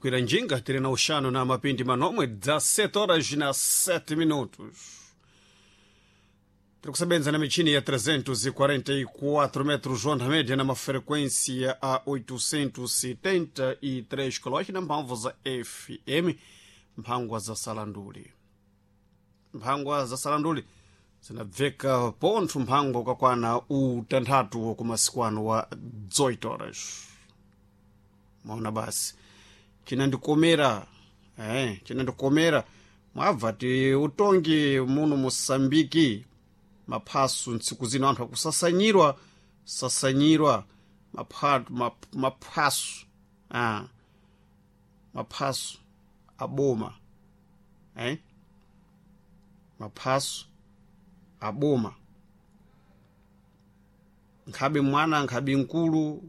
Kwira njinga tiri na uxanu na mapindi manomwe 17 horas na 7 minutos. Tiri kusebenza na michini ya 344 metros onda média na mafrequência a 873 kHz na mphamvu za FM, mphangwa za salanduli. Mphangwa za salanduli zinabveka pontho mphangwa ukakwana utanthatu kumasiku ano wa 18 horas. Maona basi chinandikomera chinandikomera mwabva ti utongi muno Mosambiki maphaso ntsiku zino anthu akusasanyirwa sasanyirwa maphaso maphaso aboma maphaso aboma nkhabe mwana nkhabe mkulu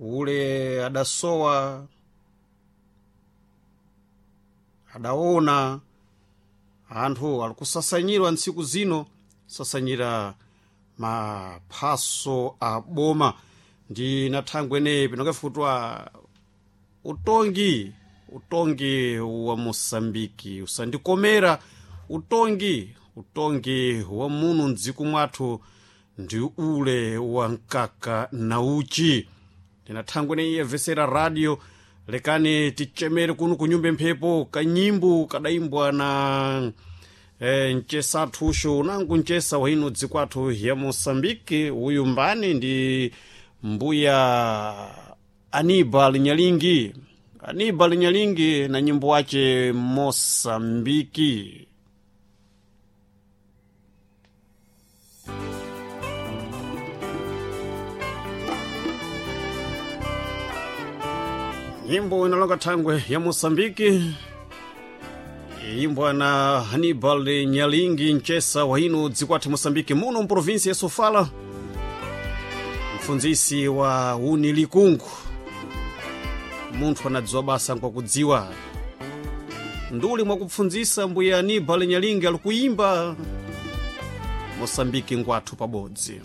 ule adasowa adaona anthu alikusasanyirwa ntsiku zino sasanyira maphaso aboma ndi na thangwe eneyi pinokefutwa utongi utongi wa Mosambiki usandikomera utongi utongi wa muno mdziko mwathu ndi ule wa mkaka na uchi. Ndina thangwe eneyi yabvesera radio lekani tichemere kuno kunyumba mphepo kanyimbo kadayimbwa na mchesa athusho unangu mchesa wa ino dziko athu ya Mosambiki uyu mbani ndi mbuya Anibal Nyalingi. Anibal Nyalingi na nyimbo wace Mosambiki. Nyimbo inalonga thangwe ya Mosambiki iyimbwa na Hannibal Nyalingi mchesa wa ino dziko athu Mosambiki muno mprovinsi ya Sofala, mfunzisi wa uni likungu munthu anadziwa basa nkwakudziwa nduli mwakupfunzisa mbuya Hannibal Nyalingi alikuyimba Mosambiki ngwathu pabodzi.